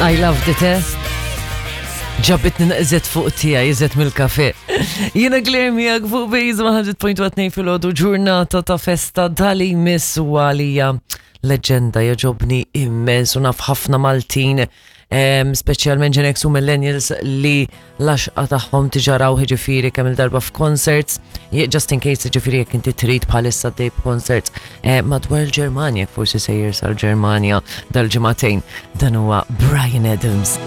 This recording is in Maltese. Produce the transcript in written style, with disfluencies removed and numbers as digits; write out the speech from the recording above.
I loved it, eh? Ġabitni naqżet fuq tija, jizet mill-kafe. Jena Claire miegħek fuq Bejz 100.2 filgħodu ġurnata ta' festa dali miss u għalija leġenda jaġobni immens u naf ħafna Maltin speċjalment Gen X u Millennials li l-għaxqa tagħhom tiġaraw ġifieri kemm il-darba f'concerts, just in case ġifieri jekk inti trid bħalissa dej b'concerts eh, madwar il-Ġermanja, forsi sejjer sal-Ġermanja dal-ġimagħtejn. Dan huwa Brian Adams.